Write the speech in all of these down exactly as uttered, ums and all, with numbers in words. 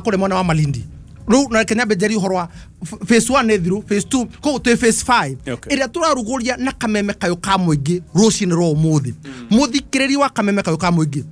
Kũrĩ mwena wa Malindi rĩu, na reke nyambe njarie ũhoro wa f- phase one nĩ thiru, phase two, koguo twĩ phase five Okay. ĩrĩa tũrarugũria na Kameme Kayũ ka Mũingĩ rũcinĩ rwa ũmũthĩ. Mũthikĩrĩri wa Kameme Kayũ ka Mũingĩ,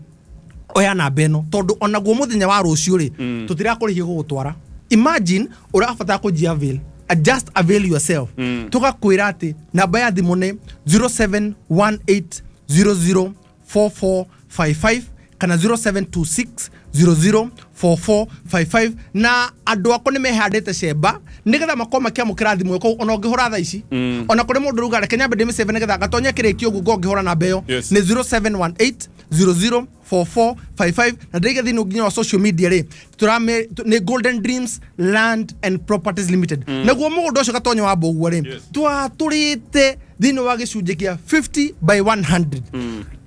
oya namba ĩno, tondũ onaguo mũthenya wa rũciũ rĩ, tũtirakũrĩhia gũgũtwara. Imagine ũrabatara kũnjia avail, uh, just avail yourself. Tũgakwĩra atĩ namba ya thimũ nĩ zero seven one eight zero zero four four five five kana zero seven two six zero zero four four five five, na andũ akwa nĩ mehandĩte cemba nĩgetha makorwo makĩamũkĩra thimũ ĩyo. Koguo ona ũngĩhũra thaa ici, ona kũrĩ mũndũ ruga, reke nyambe ndĩmĩcebe nĩgetha ngatonye kĩrĩkio ũguo ngũngĩhũra namba ĩyo. Yes. Nĩ zero seven one eight zero zero four four five five, na ndĩige thĩinĩ nginya wa social media rĩ, tũrame nĩ Golden Dreams Land and Properties Limited. Naguo mũgũnda ũcio, Gatonyo wa Mbũguo rĩ, Yes. twatũrĩte thĩinĩ wa gĩcunjĩ kĩa fifty by one hundred.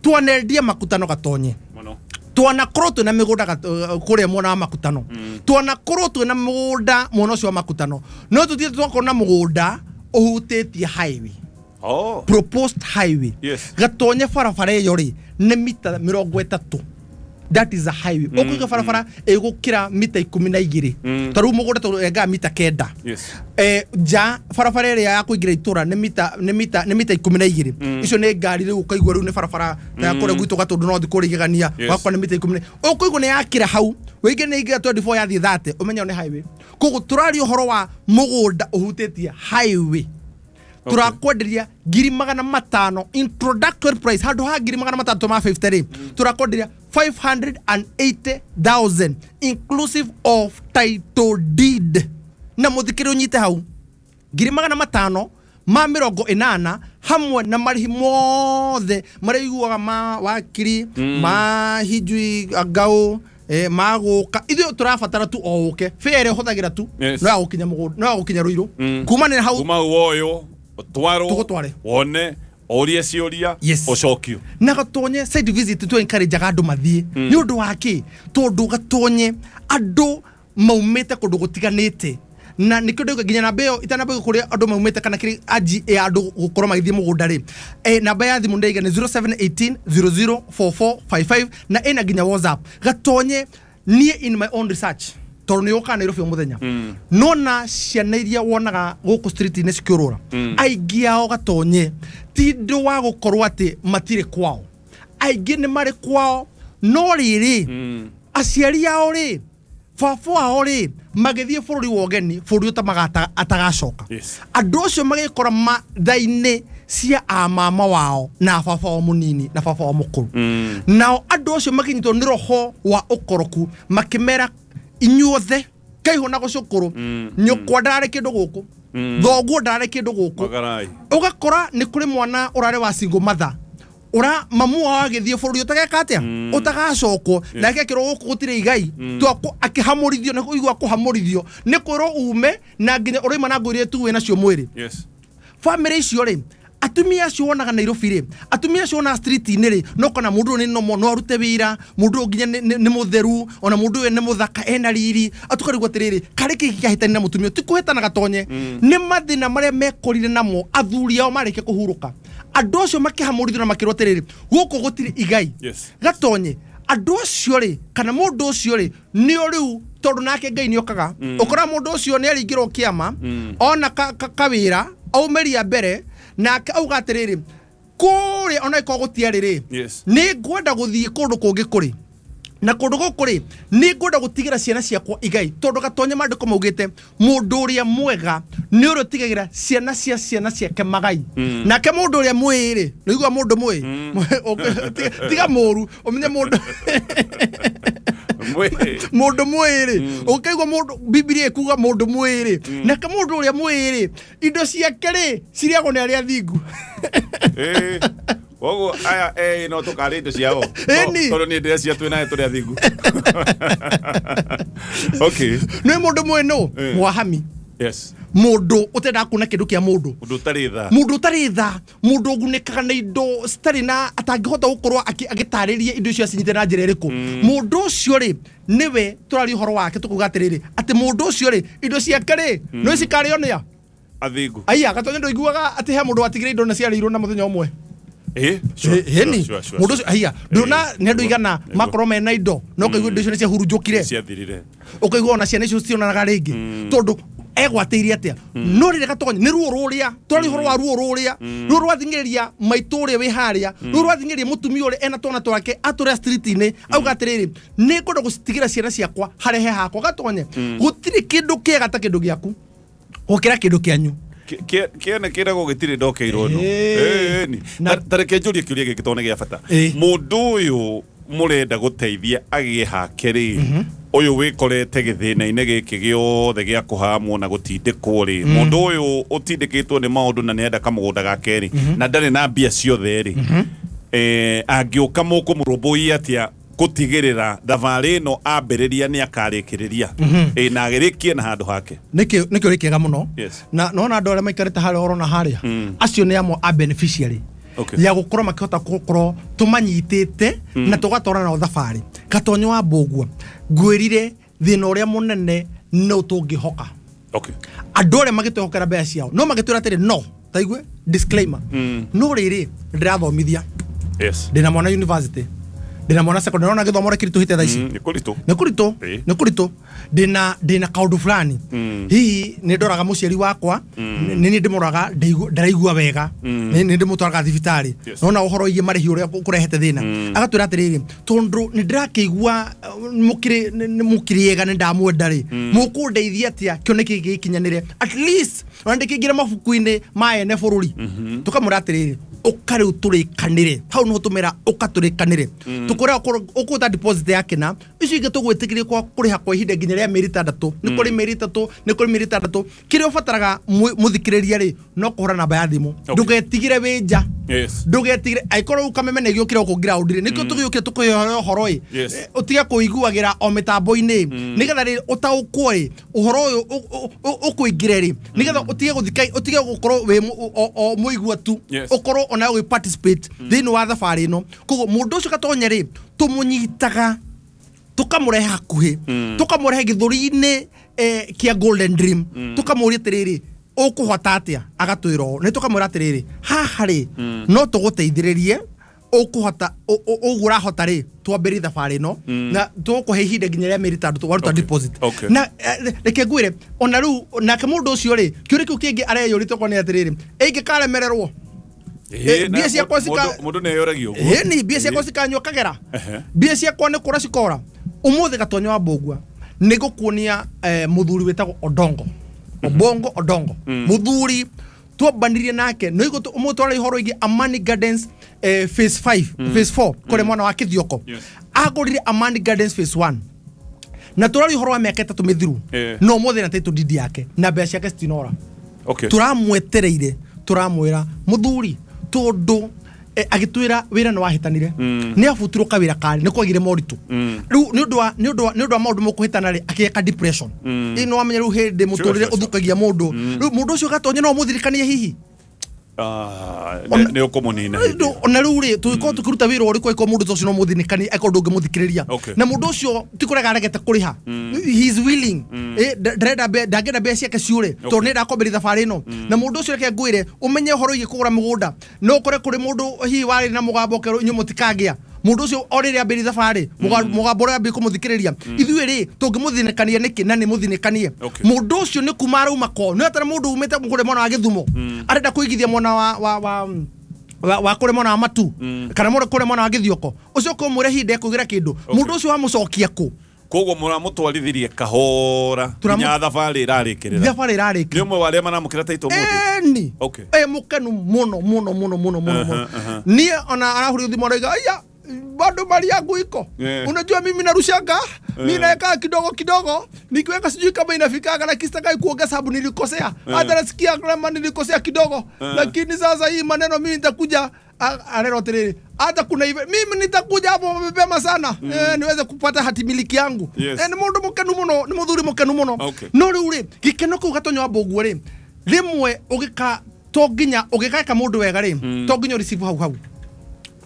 Twanendia Makutano, Gatonye. Mũno. Twanakorwo twĩna mĩgũnda gat- uh, kũrĩa mwena wa Makutano, twanakorwo twĩna mũgũnda mwena ũcio wa Makutano, no tũthiĩte twakorwo na mũgũnda ũhutĩtie highway, Oh. proposed highway. Yes. Gatonye, barabara ĩyo rĩ nĩ mita mĩrongo ĩtatũ. That is a highway. Ũkũiga barabara ĩgũkĩra mita ikũmi na igĩrĩ. Mm. Ta rĩu mũgũnda tũrengaga mita kenda. Yes. eh, nja barabara ĩrĩa ya kũingĩra itũra nĩ mita nĩ mita nĩ mita ikũmi na igĩrĩ. Icio nĩ ngari rĩu ũkaigua rĩu nĩ barabara ta ya kũrĩa gwitũ Gatũndũ no kũrĩa igegania. Yes. Wakwa nĩ mita ikũmi na ũkũigua nĩ yakĩra hau wĩingĩ nĩ ingĩra twenty-four yathiĩ thirty, ũmenye nĩ highway. Koguo tũraria ũhoro wa mũgũnda ũhutĩtie highway. Turakwenderia ngiri magana matano introductory price, handũ ha ngiri magana matandatũ ma fifty rĩ, turakwenderia five hundred eighty thousand inclusive of title deed. Na mũthikĩrĩ ũnyite hau, ngiri magana matano ma mĩrongo ĩnana hamwe na marĩhi mothe marĩa iguaga ma wakiri, ma hijui ngau, eh, ma gũka. Ithuĩ tũrabatara tu o ũke fare ĩrĩa ũhũthagĩra tu. Yes. No ya gũkinya mũgũnda, no ya gũkinya Rũirũ Mm. kuma nĩ hau. Kuma woyo twarwo. Tũgũtware. Wone, ũrie ciũria. Yes. Ũcokio. Na Gatonye, site visit tu encourage andũ mathiĩ. Nĩ ũndũ wa kĩ? Tondũ Gatonye andũ maumĩte kũndũ gũtiganĩte, na nĩkĩo ndauga nginya namba ĩyo itanamba kũrĩa andũ maumĩte kana kĩrĩ anji ya andũ gũkorwo magĩthiĩ mũgũnda rĩ, eh, namba ya thimũ ndaiga nĩ zero seven one eight zero zero four four five five na ĩna nginya WhatsApp. Gatonye, niĩ in my own research, tondũ nĩ ũkaga Nairobi o mũthenya, nona ciana iria wonaga gũkũ street-inĩ cikĩũrũra, aingĩ ao, Gatonye, ti ũndũ wa gũkorwo atĩ matirĩ kwao. Aingĩ nĩ marĩ kwao, no rĩrĩ, aciari ao rĩ, baba wao rĩ, magĩthiĩ bũrũri wa ũgeni, bũrũri ũtamaga atagacoka. Yes. Andũ acio magĩkora matha-inĩ cia amama wao na baba wao mũnini na baba wao mũkũrũ. Nao andũ acio makĩnyitwo nĩ roho wa ũkoroku, makĩmera inyuothe kaihũ na gũcũkũrũ, nyũkwa ndararĩ kĩndũ gũkũ, thoguo ndararĩ kĩndũ gũkũ. Magarai. Ũgakora nĩ kũrĩ mwana ũrarĩ wa single mother, ũra mamu wao agĩthiĩ bũrũri ũtageka atĩa, ũtagacokwo, nake akĩrwo gũkũ gũtirĩ igai. Twakũ akĩhamũrithio, nĩ kũigua kũhamũrithio nĩ kwĩrwo ume na nginya ũraima na nguo iria tu wĩ nacio mwĩrĩ. Yes. Bamĩrĩ icio rĩ, atumia acio wonaga Nairobi rĩ, atumia acio wonaga street-inĩ rĩ, no kana mũndũ ũyũ nĩ nomo, no arute wĩra, mũndũ ũyũ nginya nĩ- nĩ nĩ mũtheru, ona mũndũ ũyũ nĩ mũthaka, ena riri, atukarigwo atĩrĩrĩ, karĩ kĩĩ kĩahĩtania na mũtumia ũyũ? Ti kũhĩtana, Gatonye, nĩ mathĩna marĩa mekorire namo athuri ao marĩkia kũhurũka. Andũ acio makĩhamũrithio na makĩrwo atĩrĩrĩ, gũkũ gũtirĩ igai. Yes. Gatonye, andũ acio rĩ, kana mũndũ ũcio rĩ, nĩo rĩu tondũ nake Ngai nĩ okaga ũkora mũndũ ũcio nĩ aringĩrwo kĩama, ona ka- ka- kawĩra aumĩria mbere, nake auga atĩrĩrĩ, kũrĩa ona ĩkorwo gũtiarĩ rĩ, Yes. nĩ ngwenda gũthiĩ kũndũ kũngĩ kũrĩ na kũndũ gũkũ rĩ, nĩ ngwenda gũtigĩra ciana ciakwa igai, tondũ Gatonye maandĩko maugĩte mũndũ ũrĩa mwega nĩ ũrĩa ũtigagĩra ciana cia ciana ciake magai. Nake mũndũ ũrĩa mwĩĩ rĩ, nĩ igua mũndũ mwĩĩ. Tiga- tiga mũru ũmenye mũndũ Mwĩ. Mũndũ mwĩĩ rĩ, ũkaigua mũndũ Bibilia ĩkuga mũndũ mwĩĩ rĩ, nake mũndũ ũrĩa mwĩĩ rĩ, indo ciake rĩ cirĩagwo nĩ arĩa athingu. Eh. Koguo aya eh no tũkarĩa indo ciao. Ĩni. Tondũ niĩ ndĩrecia twĩ naye tũrĩ athingu. Okay. Nĩ mũndũ mwĩĩ nũ? Eh. Mwahami. Yes. Mũndũ ũtendaga kuona kĩndũ kĩa mũndũ. Mũndũ ũtarĩ tha. Mũndũ ũtarĩ tha, mũndũ ũgunĩkaga na indo citarĩ na atangĩhota gũkorwo akĩ- agĩtarĩria indo icio acinyite na njĩra ĩrĩkũ. Mũndũ ũcio rĩ, nĩwe tũraria ũhoro wake, tũkuga atĩrĩrĩ, atĩ mũndũ ũcio rĩ, indo ciake rĩ, no cikarĩo nĩa? Athingu. Aya, Gatonye, ndũiguaga atĩ he mũndũ watigire indo na ciarĩirwo na mũthenya ũmwe? Ĩni mũndũ ũcio haiya ndũna nĩ andũ igana makorwo mena indo no ũkaigua indo icio nĩ ciahurunjũkire, ciathirire, ũkaigua ona ciana icio citionanaga rĩngĩ tondũ egwatĩirie atĩa. No rĩrĩa Gatonye nĩ ruo rũrĩa tũrari ũhoro wa ruo rũrĩa ruo rwathing'ĩrĩria maitũ ũrĩa wĩ harĩa, ruo rwathing'ĩrĩria mũtumia ũrĩa ena twana twake atũrĩa street-inĩ, auga atĩrĩrĩ, nĩ ngwenda gũcitigĩra ciana ciakwa harehe hakwa. Gatonye gũtirĩ kĩndũ kĩega ta kĩndũ gĩaku gũkĩra kĩndũ kĩanyu. Kĩene kĩragwo gĩtirĩ ndokeirwo no. Ĩni ta reke njũrie kĩũria gĩkĩ tondũ nĩ gĩa bata. Mũndũ ũyũ mũrenda gũteithia agĩe hake rĩ, ũyũ wĩkorete gĩthĩna-inĩ gĩkĩ gĩothe gĩa kũhamwo na gũtindĩkwo rĩ, mũndũ ũyũ ũtindĩkĩtwo nĩ maũndũ na nĩenda kamũgũnda gake rĩ, na ndarĩ na mbia ciothe rĩ, eh angĩũka mũkũmũrũmbũiya atĩa gũtigĩrĩra thabarĩ ĩno ambĩrĩria nĩ akarĩkĩrĩria ĩ na agĩrĩkie na handũ hake? Nĩkĩo nĩkĩo kĩega mũno. Na nona andũ arĩa maikarĩte harĩa orona harĩa acio nĩ amwe a beneficiary ya gũkorwo makĩhota gũkorwo tũmanyitĩte na tũgatwara nao thabarĩ. Gatonye wa Mbũgua ngwĩrire thĩna ũrĩa mũnene no tũngĩhoka andũ arĩa magĩtwĩhokera mbeca ciao no magĩtwĩra atĩrĩ, no taigue disclaimer, no rĩrĩ ndĩrathomithia, ndĩna mwana university, ndĩna mwana secondary, nona gĩthomo ũrĩa kĩritũhĩte thaa ici nĩ kũritũ, nĩ kũritũ, nĩ kũritũ, ndĩna ndĩna kaũndũ fulani, hihi nĩ ndoraga mũciari wakwa, nĩ niĩ ndĩmũroraga ndĩraigua wega, nĩ ndĩmũtwaraga thibitarĩ, nona ũhoro wĩgiĩ marĩhi ũrĩa kũrehete thĩna. Agatwĩra atĩrĩrĩ, tondũ nĩ ndĩrakĩigua mũkĩrĩ mũkĩrĩega nĩ ndamwenda rĩ, mũkũndeithia atĩa kĩoneki gĩkĩ gĩkinyanĩre, at least ona ndĩkĩingĩre mabuku-inĩ ma ene bũrũri. Tũkamwĩra atĩrĩrĩ, ũka rĩu tũrĩkanĩre hau nĩho tũmera ũka tũrĩkanĩre, tũkũrĩa ũkũta deposit yake na icio ingĩ tũgwĩtĩkĩria kwa kũrĩha kwa ihinda nginya rĩa mĩeri ĩtandatũ, nĩ kũrĩ mĩeri ĩtatũ, nĩ kũrĩ mĩeri ĩtandatũ. Kĩrĩa ũbataraga mũthikĩrĩria rĩ no kũhũra namba ya thimũ, ndũgetigĩre wĩ nja, ndũgetigĩre angĩkorwo rĩu kameme nĩ gĩũkire gũkũ ground rĩ, nĩkĩo tũgĩũkire tũkũhe ũhoro ĩ, ũtige kũiguagĩra o mĩtambo-inĩ, nĩgetha rĩ ũtaũkwo ĩ ũhoro ũyũ ũkũingĩre rĩ, nĩgetha ũtige gũthika, ũtige gũkorwo wĩ o mũigua tu, ũkorwo ona ũgĩ participate thĩinĩ wa thabarĩ ĩno. Koguo mũndũ ũcio Gatonye rĩ tũmũnyitaga tũkamũrehe hakuhĩ, tũkamũrehe gĩthũri-inĩ kĩa Golden Dream, tũkamũria atĩrĩrĩ, ũkũhota atĩa? Agatwĩra ũũ. Nĩ tũkamwĩra atĩrĩrĩ, haha rĩ no tũgũteithĩrĩrie, ũkũhota ũguo ũrahota rĩ twambĩrĩrie thabarĩ ĩno na tũgũkũhe ihinda nginya rĩa mĩeri ĩtandatũ waruta deposit. Na reke ngwĩre ona rĩu nake mũndũ ũcio rĩ kĩũria kĩu kĩngĩ areyũria tokorwo nĩ atĩrĩrĩ, ĩngĩkaremererwo mbia ciakwa cika mũndũ nĩeyũragia ũguo, ĩni mbia ciakwa cikanyua kagera, mbia ciakwa nĩ kũra cikora. Ũmũthĩ Gatonye wa Mbũgua nĩ ngũkuonia mũthuri wĩtagwo Odongo, Obongo Odongo, mũthuri twambanirie nake nĩ ũmũthĩ twara ũhoro wĩgiĩ Amani Gardens phase five, phase four kũrĩa mwena wa Kĩthioko. Agũrire Amani Gardens phase one na tũraria ũhoro wa mĩaka ĩtatũ mĩthiru, no ũmũthĩ na title deed yake na mbeca ciake citinora. Tũramwetereire, tũramwĩra mũthuri, tondũ agĩtwĩra wĩra nĩ wahĩtanire, nĩ abutirwo kawĩra karĩ nĩ kwagire moritũ, rĩu nĩ ũndũ wa nĩ ũndũ wa nĩ ũndũ wa maũndũ mũkũhĩtana rĩ akĩgĩa depression. Ĩ nĩ wamenya rĩu hĩndĩ mũtũrĩre ũthũkagia mũndũ, rĩu mũndũ ũcio Gatonye no mũthirikanie hihi nĩ ũkũmũnina. Ona rĩu rĩ tũgĩkorwo tũkĩruta wĩra ũrĩkũ angĩkorwo mũndũ ũcio no mũthinĩkanie angĩkorwo ndũngĩmũthikĩrĩria, na mũndũ ũcio ti kũrega aregete kũrĩha, he is willing, ndarenda ndangĩenda mbeca ciake ciũre tondũ nĩ ndakwambĩrĩria thabarĩ ĩno. Na mũndũ ũcio reke ngwĩre ũmenye ũhoro wĩgiĩ kũgũra mũgũnda, no ũkore kũrĩ mũndũ hihi warĩ na mũgambo ũkerwo inyuĩ mũtikangĩa, mũndũ ũcio o rĩrĩa ambĩrĩria thabarĩ mũgambo ũrĩa ambĩrĩria kũmũthikĩrĩria, ithuĩ rĩ tũngĩmũthinĩkania nĩkĩ na nĩ mũthinĩkanie mũndũ ũcio nĩ kuma arauma ko nĩ atara mũndũ umĩte kũrĩa mwena wa Gĩthumo arenda kũigithia mwena wa wa wa wa kũrĩa mwena wa Matu kana kũrĩa mwena wa Gĩthioko, ũcio ũkũmwĩra ihinda ekũgĩra kĩndũ, mũndũ ũcio wamũcokia kũ? Koguo mũramũtwarithirie kahora nginya thabarĩ ĩrarĩkĩrĩra, thabarĩ ĩrarĩkĩrĩra. Nĩ ũmwe wa arĩa maramũkĩra title ũmũthĩ? Ĩni ĩ mũkenu mũno mũno mũno mũno mũno mũno. Niĩ ona arahũrire thimũ arauga aya bado mali yangu iko, yeah. Unajua mimi narushanga, yeah. Mimi naweka kidogo kidogo, nikiweka sijui kama inafikaga, lakini sitaki kuongeza sababu nilikosea, yeah. Hata nasikia kama nilikosea kidogo, yeah. Lakini sasa hii maneno mimi nitakuja arero atiriri, hata kuna hivi mimi nitakuja hapo mapema sana, mm. Eh, niweze kupata hati miliki yangu. Yes. Eh, ni mundu mukenu muno, ni muthuri mukenu muno. Okay. No riu ri gikeno kuu Gatonye wa Mbũgua ri rimwe ugika to nginya ugikeka mundu wega ri to nginya receive hau hau.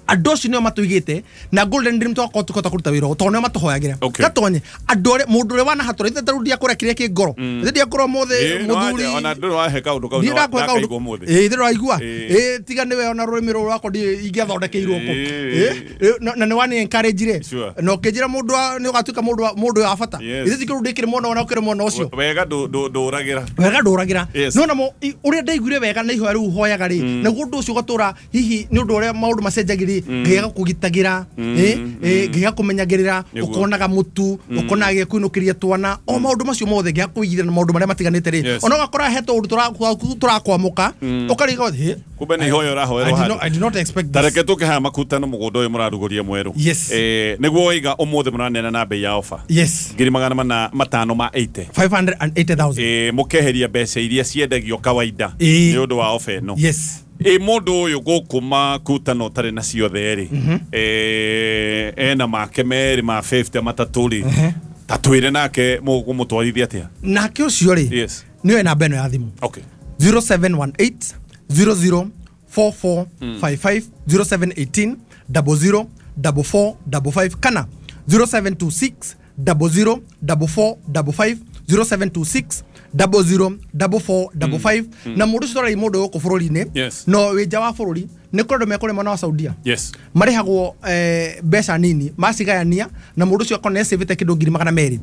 Andũ acio nĩo matũigĩte na Golden Dream twakorwo tũkĩhota kũruta wĩra ũyũ tondũ nĩo matũhoyagĩra. Okay. Gatonye andũ arĩa mũndũ ũrĩa wanahatũra ithe tarĩu ndiakũrĩa kĩrĩa kĩ ngoro. Ithe ndiakũrĩa ũmũthĩ Ĩĩ, no mũthuri. anja, ona ndũrĩ wahe kaũndũ kau Ndiĩ ndakũhe kaũndũ. ndakaigua ũmũthĩ. Ĩĩ, ithe ndũraigua. Ĩĩ. Ĩĩ, tiga nĩwe ona rũrĩmĩ rũrũ rwakwa ndiĩ ingĩathondekeirwo kũ. Ĩĩ. Ĩĩ, na na nĩ wani encourage re. Sure. Na ũkĩnjĩra mũndũ wa- nĩ ũgatuĩka mũndũ wa- mũndũ wa bata. Yes. Ithe tikĩrũ ndĩkĩrĩ mwena ona ũkĩrĩ mwena ũcio. Wega ndũ- ndũ- ndũragĩra. Wega ndũragĩra. Yes. No namo i- ũrĩa ndaiguire wega na ihoya rĩu hoyaga rĩ, naguo ũndũ ũcio ũgatũra hihi nĩ ũndũ ũrĩa maũndũ macenjagia rĩ, Ngai agakũgitagĩra, ĩ, ĩ, Ngai agakũmenyagĩrĩra, Nĩguo. ũkonaga mũtu, ũkonaga gĩa kũinũkĩria twana, o maũndũ macio mothe Ngai akũigithia na maũndũ marĩa matiganĩte rĩ. Yes. Ona ũgakora he tũũndũ tũra- tũrakwamũka, ũkariga, hĩ, Kumbe nĩ ihoya I ũrahoerwo did not, handũ. I did not expect Ta this. reke tũke haha makutano mũgũnda ũyũ mũrarugũria mwerũ. Yes. Eh, nĩguo waiga ũmũthĩ mũraneana na bei ya ofa. Yes. Ngiri magana mana matano ma eighty. five hundred and eighty thousand. Eh, mũkeheria mbeca iria ciendagio kawaida Ĩĩ. nĩ ũndũ wa ofa ĩno. Yes. Ĩ mũndũ ũyũ gũkũ makutano ũtarĩ na ciothe rĩ, eh, ena make merĩ ma fifty matatũ rĩ, ta twĩre nake mũkũmũtwarithia atĩa? Nake ũcio rĩ, Yes. nĩoe namba ĩno ya thimũ. Okay. zero seven one eight zero zero four four five five, zero seven eighteen double zero double four double five kana zero seven two six double zero double four double five, zero seven two six double zero double four double five. Na mũndũ ũcio twarari mũndũ gũkũ bũrũri-inĩ, Yes. no wĩ nja wa bũrũri nĩ kũrĩ andũ mekũrĩa mwena wa Saudia. Yes. Marĩhagwo eh, mbeca nini macigayania na mũndũ ũcio akorwo nĩacĩvĩte kĩndũ ngiri magana merĩ.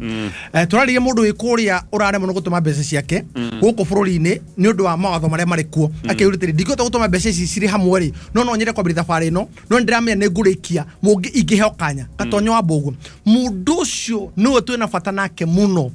Eh, tũraririe mũndũ wĩ kũrĩa ũraremwo nĩ gũtũma mbeca ciake gũkũ bũrũri-inĩ nĩ ũndũ wa mawatho marĩa marĩ kuo. Akĩũria atĩrĩ, ndingĩhota gũtũma mbeca ici cirĩ hamwe rĩ, no no nyende kwambĩrĩria thabarĩ ĩno, no nĩ ndĩramenya nĩ ngũrĩkia mũngĩ ingĩheo kanya gatonyo wa mbũguo. Mũndũ ũcio nĩwe twĩna bata nake mũno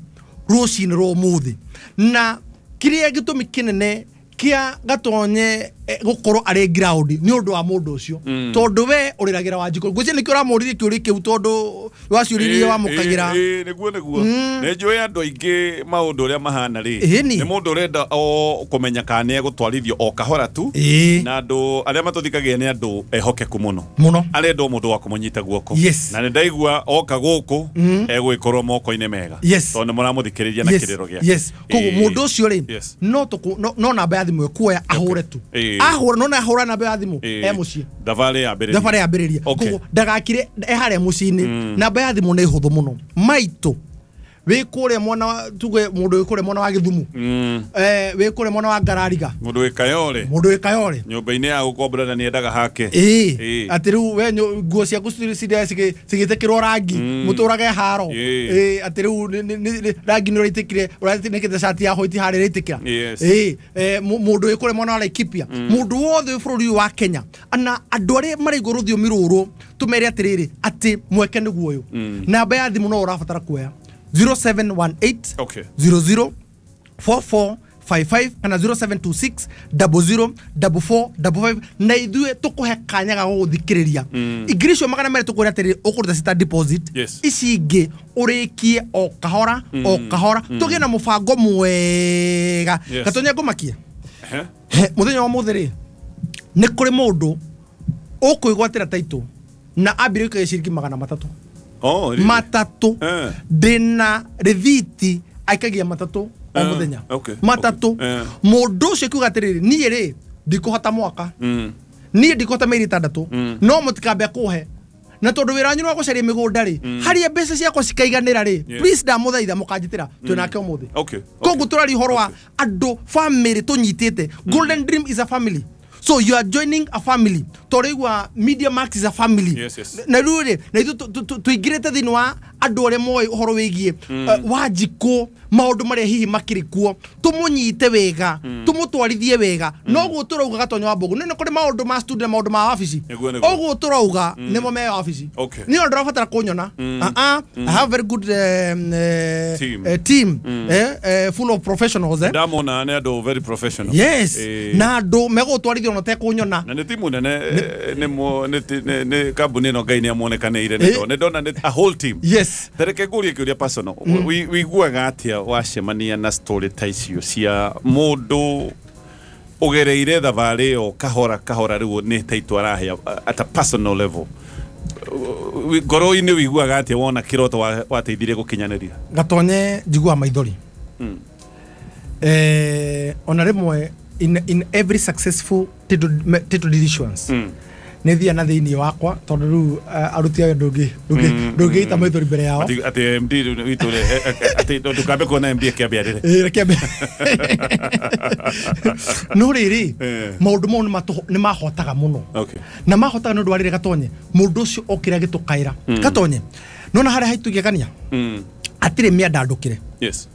rũcinĩ rwa ũmũthĩ, na kĩrĩa gĩtũmi kĩnene kĩa gatonye eh, gũkorwo arĩ ground nĩ ũndũ wa mũndũ ũcio, tondũ we ũrĩragĩra Wanjikũ. Ngwĩciria nĩkĩo ũramũririe kĩũria kĩu, tondũ waciũririe wamũkagĩra. Ĩĩ, nĩguo nĩguo. Nĩ njũĩ andũ aingĩ maũndũ ũrĩa mahana rĩ, Ĩni. nĩ mũndũ ũrenda o kũmenya kana nĩ egũtwarithio o kahora tu, Ĩĩ. na andũ arĩa matũthikagia nĩ andũ ehokeku mũno, mũno, arenda o mũndũ wa kũmũnyita guoko. Yes. Na nĩ ndaigua oka gũkũ egũgĩkorwo moko-inĩ mega, Yes. tondũ nĩ mũramũthikĩrĩria na Yes. kĩrĩro gĩake. Yes. Koguo Ĩĩ. mũndũ ũcio rĩ, Yes. no tũkũ- no- no namba ya thimũ ĩkuoya ahũre tu. Ĩĩ. Ahũra, no na ahũra namba ya thimũ Ĩĩ. e mũciĩ, thabarĩ yambĩrĩria, thabarĩ yambĩrĩria. Okay. Koguo ndagakire e harĩa mũciĩ-inĩ. Namba ya thimũ nĩ hũthũ mũno maitũ wĩ kũrĩa mwena wa- tuge mũndũ wĩ kũrĩa mwena wa Gĩthumu, Mm. eh, wĩ kũrĩa mwena wa Ngarariga, mũndũ wĩ Kayole, mũndũ wĩ Kayole, nyũmba-inĩ ya gũkombora na nĩendaga hake. ĩĩ, Ĩĩ. atĩ rĩu we nyũ- nguo ciaku ciri- cigĩtĩkĩrwo rangi mũtũrage haro. Ĩĩ. Ĩĩ, atĩ rĩu nĩ- nĩ- nĩ- rangi nĩ ũraitĩkire, ũraitĩkĩte cati ya white harĩa ĩraitĩkĩra. Yes. Ĩĩ, eh, mũ- mũndũ wĩ kũrĩa mwena wa Laikipia, mũndũ wothe wĩ bũrũri ũyũ wa Kenya, na andũ arĩa maraigua rũthiomi rũrũ tũmere atĩrĩrĩ atĩ mweke nĩguo ũyũ. Namba ya thimũ no ũrabatara kuoya zero seven one eight Okay. zero zero four four five five kana zero seven two six double zero double four double five, na ithuĩ tũkũhe kanya ga gũgũthikĩrĩria. Ngiri icio magana merĩ tũkwĩra atĩrĩrĩ ũkũruta cita deposit, Yes. ici ingĩ ũrĩkie o kahora o kahora, tũgĩe na mũbango mwega. Yes. Gatonya ngũmakie. Ehe. He, mũthenya wa mũthĩ rĩ, nĩ kũrĩ mũndũ ũkwĩgwatĩra taitũ na ambire gũikagia ciringi magana matatũ. Oh, really? Matatũ. Eh. Ndĩna rĩthiti aikagia matatũ o Eh, mũthenya. okay, Matatũ. okay. Eh. Mũndũ ũcio akiuga atĩrĩrĩ, niĩ rĩ ndikũhota mwaka, Mm. niĩ ndikũhota mĩeri ĩtandatũ, no mũtikambe kũhe na tondũ wĩra wanyu nĩ wa gũcaria mĩgũnda rĩ, harĩa mbeca ciakwa cikaiganĩra rĩ, Yes. please ndamũthaitha mũkanjĩtĩra twĩnake ũmũthĩ. Okay, Koguo tũraria ũhoro wa andũ family tũnyitĩte. Golden Dream is a family, so you are joining a family. Tũraigua Media Max is a family. Yes, yes. Na rĩu rĩ, na ithuĩ tũ- tũ- tũingĩrĩte thĩinĩ wa andũ arĩa moĩ ũhoro wĩgiĩ eh, Wanjikũ, maũndũ marĩa hihi makĩrĩ kuo, tũmũnyite wega, tũmũtwarithie wega. Noguo tũrauga Gatonyo wa Mbũgũ, nĩ kũrĩ maũndũ ma studio na maũndũ ma wabici. Nĩguo, nĩguo. Ũguo tũrauga nĩmo me wabici. Okay. Niĩ ona ndũrabatara kũnyona. Ah, ah, I have very good um, eh, Team. eh, team eh, eh, full of professionals, eh. Ndamona nĩ andũ very professional. Yes. Eh. Na andũ megũgũtwarithia ona ũtekũnyona. Na nĩ timu nene, eh, nĩ mo- nĩ ti- nĩ- nĩ kambuni ĩno Ngai nĩ amuonekanĩire, Eh. nĩ ndona nĩ a whole team. Yes. Tareke ngũrie kĩũria personal. Wi- wĩiguaga atĩa wacemania na story ta icio cia mũndũ ũgereire thabarĩ ĩyo kahora kahora, rĩu nĩ taitũ arahe at a personal level? Wi- ngoro-inĩ wĩiguaga atĩa wona kĩroto wa- wateithirie gũkinyanĩria? Gatonye, njiguaga maithori. Eh, ona rĩmwe in, in every successful title, title issuance Mm. Nĩ thia na thĩinĩ wakwa tondũ rĩu aruti a ndũngĩ ndũngĩita maithori mbere yao. Atĩ M D witũ atĩ ndũkambe kuona M D akĩambia rĩrĩ. Ĩĩ reke ambe. No rĩrĩ maũndũ mau nĩ mahotaga mũno. Na mahotaga nĩ ũndũ wa rĩrĩ Gatonye mũndũ ũcio okĩra gĩtũkaĩra. Gatonye nona harĩa haitũ igegania atirĩ mĩandandũkĩre. Yes.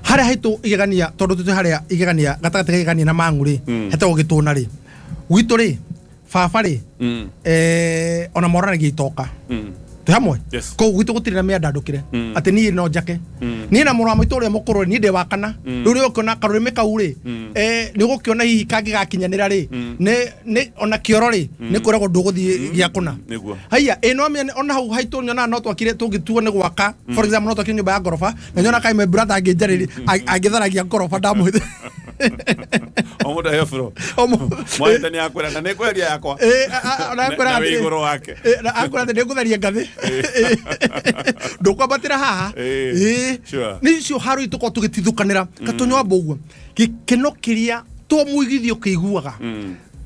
Harĩa haitũ igegania tondũ tũtĩ harĩa igegania gatagatĩ ka igegania na mang'u rĩ hetagwo gĩtũna rĩ gwitũ rĩ baba rĩ eh ona moranagia itoka twĩ hamwe koguo gwitũ gũtirĩ na mĩandandũkĩre atĩ niĩ no njake niĩ na mũrũ wa maitũ ũrĩa mũkũrũ niĩ ndĩ wa kana rĩu nĩ ũkĩona karũrĩmĩ kau rĩ eh nĩ ũgũkĩona hihi kangĩgakinyanĩra rĩ nĩ ona kĩoro rĩ nĩ kwĩragwo ndũgũthiĩ gĩa kũna haiya ĩ no ona hau haitũ nyonaga no twakire tũngĩtuo nĩ gwaka for example no twakire nyũmba ya ngoroba na nyona kaĩ my brother angĩnjarĩria angĩtharagia ngoroba ndamũhithe o mũndũ aheo bro mwaita nĩ akwĩra na nĩ ngweheria yakwa na akwĩra atĩ igũrũ wake na akwĩra atĩ nĩ ngũtheria ngathĩ ndũkwambatĩra haha ĩ nĩ icio haro itũkorwo tũgĩtithũkanĩra Gatonyo wa Mbũguo gĩkeno kĩrĩa to mũigithio kĩiguaga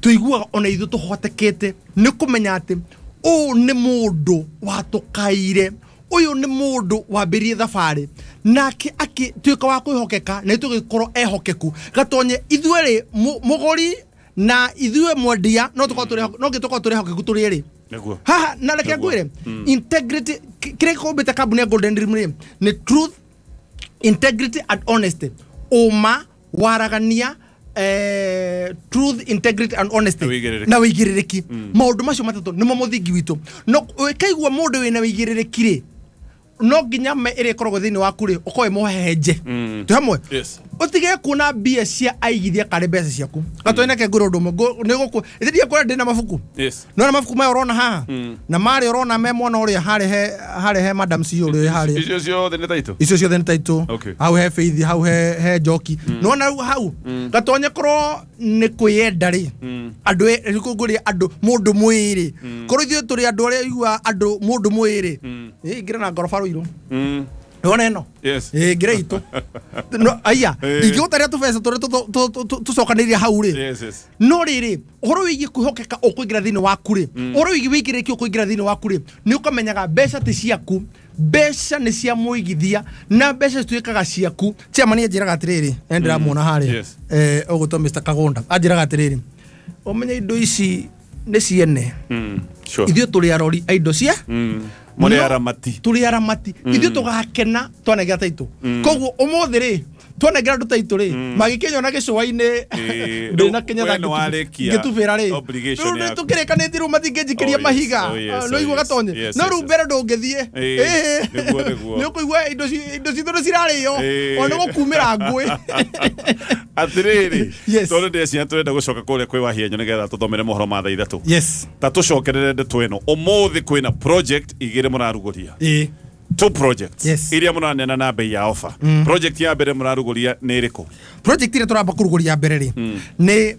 tũiguaga ona ithuĩ tũhotekete nĩ kũmenya atĩ ũũ nĩ mũndũ watũkaire ũyũ nĩ mũndũ wambĩrĩrie thabarĩ nake akĩtuĩka wa kwĩhokeka na tũgĩkorwo ehokeku Gatonye ithuĩ rĩ mũgũri na ithuĩ mwendia no tũkorwo tũrĩ no gĩtũkorwo tũrĩ ehokeku tũrĩ erĩ nĩguo haha na reke ngwĩre integrity kĩrĩa kĩũmbĩte kambuni ya Golden Dream rĩ nĩ truth integrity and honesty ũma waragania eh, truth integrity and honesty na wĩigĩrĩrĩki maũndũ macio matatũ nĩmo mũthingi witũ no ũkaigua mũndũ wĩna wĩigĩrĩrĩki rĩ no nginya me ĩrĩa ĩkoragwo thĩinĩ waku rĩ ũkorwo wĩ mũhehenje twĩ hamwe ũtige kuona mbia cia aigithia karĩ mbeca ciaku Gatonye neke ngwĩre ũndũ ũmwe nĩ gũkũ ithe ndiakwĩra ndĩ na mabuku nona mabuku maya ũrona haha na marĩa ũrona me mwana ũrĩa harĩ he harĩ he madam C ũrĩa harĩa icio ciothe nĩ taitũ icio ciothe nĩ taitũ hau he Faith hau he he Njoki nona rĩu hau Gatonye korwo nĩ kwĩyenda rĩ andũ ngũria andũ mũndũ mwĩrĩ korwo ithuĩ tũrĩ andũ arĩa igua andũ mũndũ mwĩrĩ ingĩra na ngoroba rũirũ nĩwona ĩno ĩĩ ngĩra itũ no aya ingĩgũtaria tũbeca tũrĩa tũcokanĩrĩria hau rĩ no rĩrĩ ũhoro wĩgiĩ kwĩhokeka ũkũingĩra thĩinĩ waku rĩ ũhoro wĩgiĩ wĩigĩrĩrĩki ũkũingĩra thĩinĩ waku rĩ nĩ ũkamenyaga mbeca ti ciaku mbeca nĩ cia mũigithia na mbeca cituĩkaga ciaku chairman anjĩraga atĩrĩrĩ na ndĩramuona harĩa eh ũgũtwo Mister Kagunda anjĩraga atĩrĩrĩ ũmenye indo ici nĩ ciene ithuĩ tũrĩ arori a indo cia muri aramati turi aramati ithuĩ tũgakena twanengera taitũ koguo ũmũthĩ rĩ twanengera andũ taitũ rĩ magĩkĩnyona gĩcũa-inĩ ndĩna Kenya ngĩtubĩra rĩ rĩu nĩ tũkĩrĩkanĩtie rĩu matingĩnjikĩria mahiga no igua Gatonye no rĩu mbere ndũngĩthiĩ nĩ ũkũigua indo citũ nĩ cirarĩo ona nĩ gũkumĩra ngũĩ atĩrĩrĩ tondũ ndĩreciria tũrenda gũcoka kũrĩa kwĩ Wahienyo nĩgetha tũthomere mohoro ma thaa ithatũ ta tũcokerere ndeto ĩno ũmũthĩ kwĩna project igĩrĩ mũrarugũria two projects yes. Iria mũraneana na bei ya offer mm. Project ya mbere mũrarugũria nĩ ĩrĩkũ? Project ĩrĩa tũramba kũrugũria mbere rĩ mm. nĩ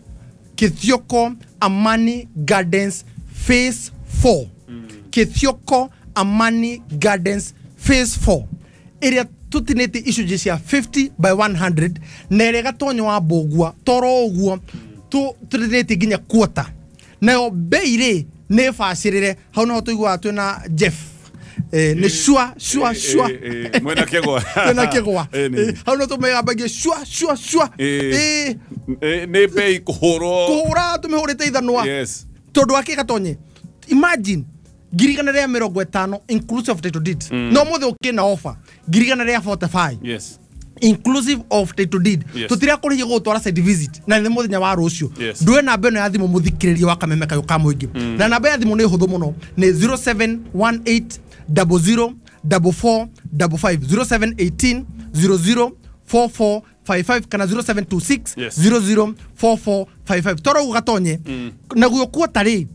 Kithioko Amani Gardens Phase four mm. Kithioko Amani Gardens Phase four ĩrĩa tũtinĩtie icunjĩ cia fifty by one hundred na ĩrĩa Gatonyo wa Mbũgua toro ũguo tũtinĩtie nginya quarter nayo bei rĩ nĩ bacĩrĩre hau noho tũiguaga twĩna Jeff eh ni shwa shwa shwa mwena kegwa mwena kegwa hau no tumegambagie shwa shwa shwa eh ni bei kuhurwo kuhura tumihurite ithanwa yes tondu wake Gatonye imagine ngiri igana rĩa mĩrongo ĩtano inclusive of title deed no mũthĩ ũkĩna offer ngiri igana rĩa forty-five yes inclusive of title deed yes. Tutira kũrĩhia gũgũtwara site visit na nĩ mũthenya wa rũciũ yes. Ndũe namba ĩno ya thimũ mũthikĩrĩria wa Kameme Kayũ ka Mũingĩ mm. na namba ya thimũ nĩ hũthũ mũno nĩ zero seven one eight double zero double four double five zero seven eighteen zero zero four four five five kana zero seven two six yes. zero zero four four five five toro ũguo Gatonye mm. naguo kuota rĩ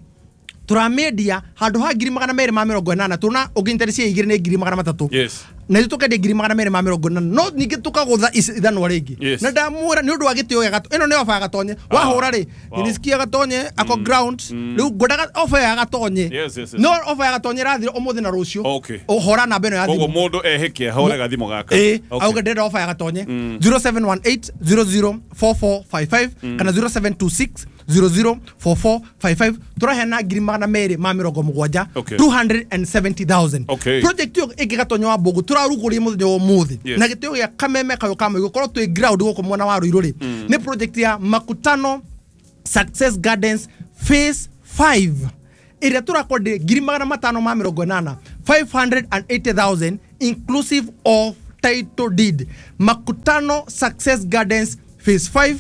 tũramĩendia handũ ha ngiri magana merĩ ma mĩrongo ĩnana tũna ũngĩnyita cia igĩrĩ nĩ ngiri magana matatũ yes. na ithuĩ tũkendia ngiri magana merĩ ma mĩrongo ĩnana no ningĩ tũkagũtha ithanwa rĩngĩ yes. na ndamwĩra nĩ ũndũ wa gĩtĩo gĩa Gatonye ĩno nĩ ofa ya Gatonye wahũra rĩ nilisikia Gatonye ako ground rĩu ngwendaga ofa ya Gatonye yes, yes, yes. no ofa ya Gatonye ĩrathira ũmũthĩ na rũciũ okay. ũhora namba ĩno ya thimũ koguo mũndũ ehĩke ahũre gathimũ gaka ĩĩ auge ndĩrenda ofa ya Gatonye zero seven one eight zero zero four four five five kana zero seven two six zero zero four four five five tũraheana ngiri magana merĩ ma mĩrongo mũgwanja Okay. two hundred seventy thousand. Okay. Project ĩyo ĩngĩ Gatonyo wa Mbũngũ tũrarugũria mũthenya wa ũmũthĩ Yes. na gĩtĩo gĩa Kameme kayũ ka Mũigũ korwo twĩ ground gũkũ mwena wa Ruiru rĩ nĩ project ya Makutano Success Gardens phase five ĩrĩa tũrakwendia ngiri magana matano ma mĩrongo ĩnana five hundred eighty thousand inclusive of title deed. Makutano Success Gardens phase five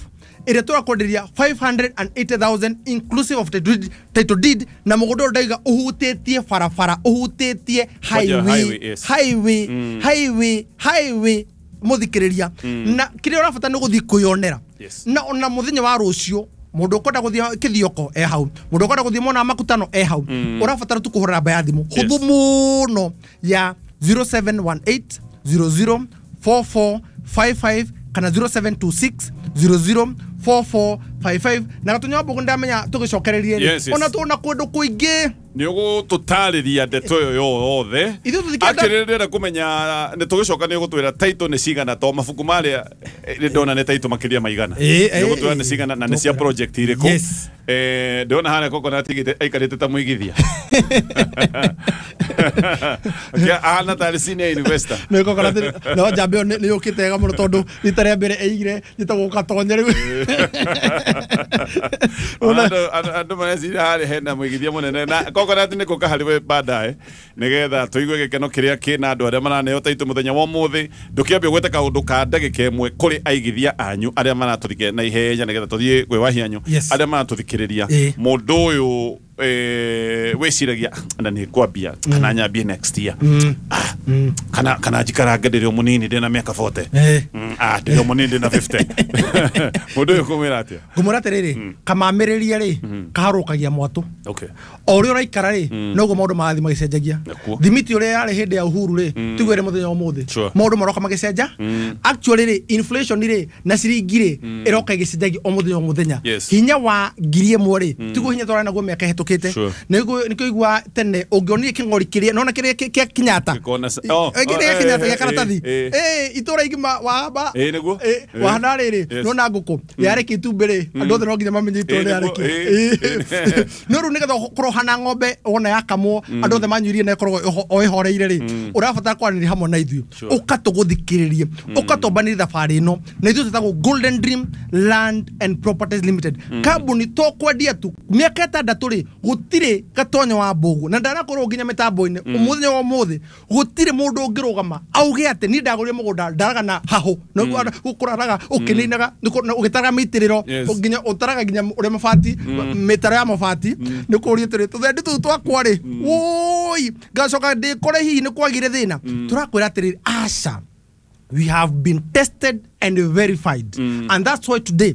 ĩrĩa tũrakwenderia five hundred eighty thousand inclusive of title deed, title deed na mũgũnda ũyũ ndaiga ũhutĩtie barabara ũhutĩtie Kwanja highway highway, yes. highway highway highway mũthikĩrĩria na kĩrĩa ũrabatara nĩ gũthiĩ kwĩyonera Yes. na ona mũthenya wa rũciũ mũndũ ũkwenda gũthiĩ Kĩthioko e hau mũndũ ũkwenda gũthiĩ mwena wa Makutano e hau ũrabatara tu kũhũra namba ya thimũ hũthũ mũno ya zero seven one eight zero zero four four five five kana zero seven two six zero zero four four five five na Gatonyo wa Mbũngũ ndamenya tũgĩcokererie rĩ Yes, yes. ona tuona kũndũ kũingĩ nä å gå tå tarä ria ndeto ä yo yothe Ithuĩ tũthikĩenda- Actually, ndĩrenda kũmenya nä tå gä coka nä å gå twä ra title nä cigana to mabuku marĩa nä ndona nä title makĩria maigana Ĩ, nä å gå twä ra ĩ, nä cigana na nä cia tũkwĩra. project irĩkũ Yes. Eh, ndĩrona harĩa Coconut aigĩte- aikarĩte ta mũigithia ahana tarĩ senior investor nä Coconut no njambe ĩyo nĩ yũkĩte wega mũno tondũ rita rĩa mbere ĩigire njĩtagwo Gatonye rĩu Ona- Andũ- andũ andũ mareciria harĩa hena mũigithia mũnene na Coconut nĩ kũka harĩ we baadaye nĩgetha tũigue gĩkeno kĩrĩa kĩna andũ arĩa maraneo taitũ mũthenya wa ũmũthĩ ndũkĩambie gwĩte kaũndũ ka ndagĩka ĩmwe kũrĩ aigithia anyu arĩa maratũthikĩrĩria na ihenya nĩgetha tũthiĩ kwĩ wahianyu Yes. arĩa maratũthikĩrĩria Ĩ. mũndũ ũyũ eh, wĩciragia na nĩ ngwambia kana nyambie next year Ah, kana kana njikarange ndĩrĩ o mũnini ndĩna mĩaka forty Ĩ. Mm, ah ndĩrĩ o mũnini ndĩna fifty mũndũ ũyũ kũmwĩra atĩa ngũmwĩra atĩrĩrĩ kamamĩrĩria rĩ kaharũkagia mwatũ okay o ũrĩa ũraikara rĩ noguo maũndũ marathiĩ magĩcenjagia Nakuo. thimiti ũrĩa yarĩ hĩndĩ ya Uhuru rĩ tiguo ĩrĩ mũthenya wa ũmũthĩ Sure. maũndũ maroka magĩcenja actually rĩ inflation rĩ na ciringi rĩ ĩroka ĩgĩcenjagia o mũthenya o mũthenya Yes. hinya wa ngiri ĩmwe rĩ tiguo hinya twarĩ naguo mĩaka ĩhĩtũkĩte Sure. nĩguo nĩkĩo igua tene ũngĩonire kĩng'ori kĩrĩa nona kĩrĩa kĩ- kĩa Kenyatta Gĩkona ca- oh, Eh, kĩrĩa oh, gĩa Kenyatta eh, gĩa karatathi eh, eh itũra igima wahamba Eh, nĩguo. eh, Eh. wahana rĩrĩ Yes. nona ngũkũ yarĩkia itumbĩ rĩ andũ othe no nginya mamenye itũra Eh, nĩguo, rĩarĩkia eh, eh. no rĩu nĩgetha kũrohana ng'ombe wona yakamwo andũ othe manyuirie na ĩkoragwo ĩho- o ĩhoreire rĩ ũrabatara kwaranĩria hamwe na ithuĩ Sure. ũka tũgũthikĩrĩrie ũka twambanĩrie thabarĩ ĩno na ithuĩ twĩtagwo Golden Dream Land and Properties Limited kambuni to kwendia tu mĩaka ĩtandatũ rĩ gũtirĩ Gatonyo wa Mbũgũ na ndanakorwo nginya mĩtambo-inĩ mũthenya wa ũmũthĩ gũtirĩ mũndũ ũngĩrũgama auge atĩ niĩ ndagũrire mũgũnda ndaraga na hahũ kũraraga ũkĩninaga ũgĩtaraga mĩitĩrĩro Yes. nginya ũtaraga nginya ũrĩa mabati mĩtaro ya mabati nĩ kũũria atĩrĩ tũthendi tũu twakwa rĩ wũi ngacoka ndĩkore hihi nĩ kwagire thĩna tũrakwĩra atĩrĩrĩ aca we have been tested and verified and that's why today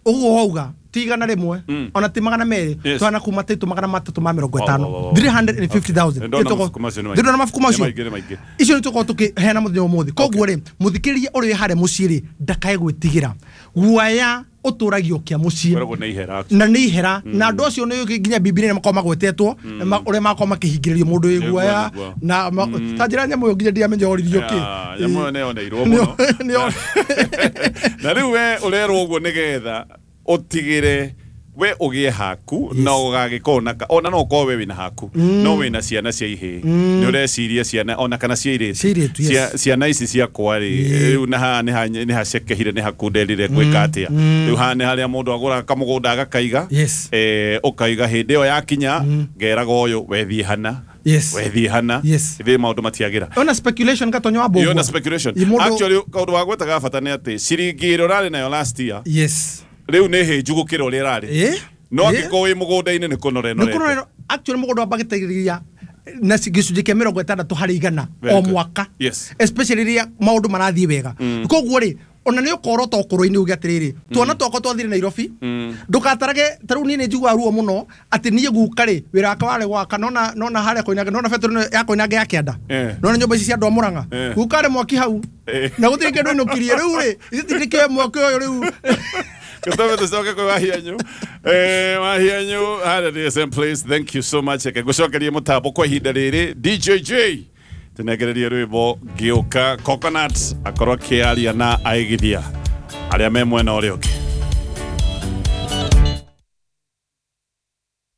ũguo wauga ti igana rĩmwe ona ti magana merĩ Yes. twana kuma taitũ magana matatũ ma mĩrongo Wow, ĩtano wow, wow, wow. three hundred and fifty thousand Ndona mabuku macio nĩ maingĩ. ndĩrona mabuku macio Nĩ maingĩ, nĩ maingĩ. icio nĩ tũkorwo tũkĩheana mũthenya ũmũthĩ koguo rĩ mũthikĩrĩria ũrĩa wĩ harĩa mũciĩ rĩ ndakae gwĩtigĩra guaya ũtũragio kĩa mũciĩ Koragwo nĩ ihera na nĩ ihera na andũ acio nĩ nginya bibilia nĩ makoragwo magwetetwo ma- ũrĩa makoragwo makĩhingĩrĩrio mũndũ wĩ Nĩguo, guaya nĩguo. na ma- ta njĩra nyamũ ĩyo nginya ndiamenya oririo kĩ Ya, nyamũ ĩyo nĩyoneirwo Nĩyo- mũno nĩyo- na rĩu we ũrerwo ũguo nĩgetha ũtigĩre we ũgĩe haku na ũgagĩkorwo na ona no ũkorwo we wĩna haku no wĩna ciana cia ihĩĩ nĩ ũreciria ciana ona kana cia airĩtu Cia airĩtu, yes. Cia- ciana ici ciakwa rĩ rĩu na haha nĩ ha- nĩ hacekehire nĩ hakunderire gwĩka atĩa rĩu haha nĩ harĩa mũndũ agũraga kamũgũnda agakaiga Yes. eh, ũkaiga hĩndĩ ĩyo yakinya ngeraga ũyũ wethiĩ hana Yes. wethiĩ hana Yes. ithuĩ maũndũ matiagĩra ona speculation Gatonyo wa Mbũgua Yona speculation. Ĩ mũndũ- Actually kaũndũ wa gwetaga bata nĩ atĩ ciringi ĩrĩa ũrarĩ nayo last year yes rĩu nĩ hĩnju gũkĩra ũrĩa ĩrarĩ Ĩ? no Ĩ? angĩkorwo wĩ mũgũnda-inĩ nĩ kũnora nĩ ĩnorete kũnorero actually mũgũnda wambagĩtĩrĩria na ci- gĩcunjĩ kĩa mĩrongo ĩtandatũ harĩ igana Very o good. mwaka Yes. especially rĩrĩa maũndũ marathiĩ wega koguo rĩ ona nĩ ũkorwo ta ũkũrũ-inĩ uge atĩrĩrĩ twana twakwa twathire Nairobi ndũgatarage ta rĩu niĩ nĩ njiguaga ruo mũno atĩ niĩ guka rĩ wĩra wakwa warĩ gwaka nona nona harĩa Koinange nona betũrũ ĩno ya Koinange ya kĩanda Eh. nona nyũmba ici cia andũ a Mũrang'a Eh. guka arĩ mwaki hau Eh. na gũtirĩ kĩndũ ainũkirie rĩu rĩ ithuĩ nĩkĩoe mwaki ũyũ rĩu Gũtome tũcoke kwĩ Wahianyu eh Wahianyu harĩa D S M place thank you so much reke ngũcokerie mũtambo kwa ihinda rĩrĩ D J J tũnengererie rwĩmbo ngĩũka Coconut akorwo akĩaria na aigithia arĩa me mwena ũrĩa ũngĩ.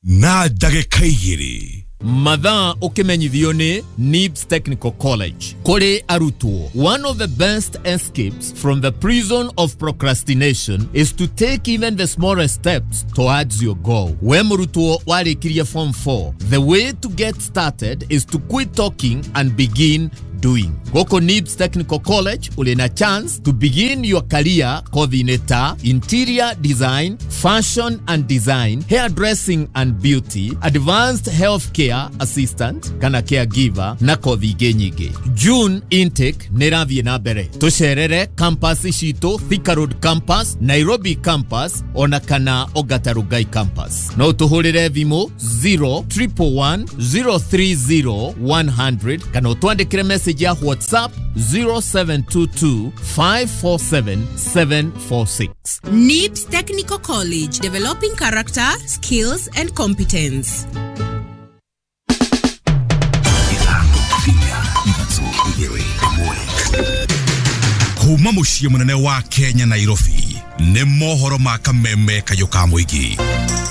Na ndagĩka igĩrĩ. Mathaa ũkĩmenyithio nĩ Nibs Technical College. Kũrĩ arutwo, one of the best escapes from the prison of procrastination is to take even the smallest steps towards your goal. We mũrutwo warĩkirie form four, the way to get started is to quit talking and begin doing. Goko Nibs Technical College uli na chance to begin your career kothi-inĩ ta interior design, fashion and design, hairdressing and beauty, advanced healthcare assistant kana caregiver na kothi ingĩ nyingĩ. June intake nĩ ĩrathiĩ na mbere. Tũcerere campus citũ, Thika Road campus, Nairobi campus ona kana Ongata Rongai campus. No tũhũrĩre thimũ zero triple one zero three zero one hundred kana ũtwandĩkĩre message ya WhatsApp zero seven two two five four seven seven four six. Nibs Technical College, developing character, skills and competence. Kuma muciĩ mũnene wa Kenya Nairobi nĩ mohoro ma kameme kayũ ka mũingĩ.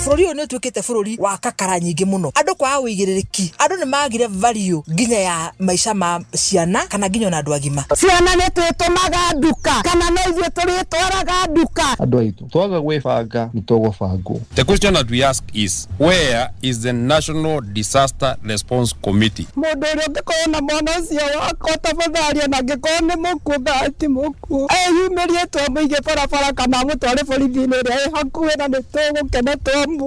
Bũrũri ũyũ nĩ ũtuĩkĩte bũrũri wa kakara nyingĩ mũno. Andũ kwaga ũigĩrĩrĩki, andũ nĩ magire value nginya ya maica ma ciana kana nginya ona andũ agima. Ciana nĩ twĩtũmaga nduka kana no ithuĩ tũrĩtwaraga nduka. Andũ aitũ twaga gwĩbanga nĩ tũgũbangwo. The question that we ask is, where is the National Disaster Response Committee? Mũndũ ũrĩa ũngĩkorwo na mwana ũcio wakwa tafadhali, ona angĩkorwo nĩ mũkuũ kana ti mũkuũ, eyumĩrie twamũige barabara kana amũtware borithi-inĩ ĩrĩa ĩ hakuhĩ na nĩ tũgũkena twamuona.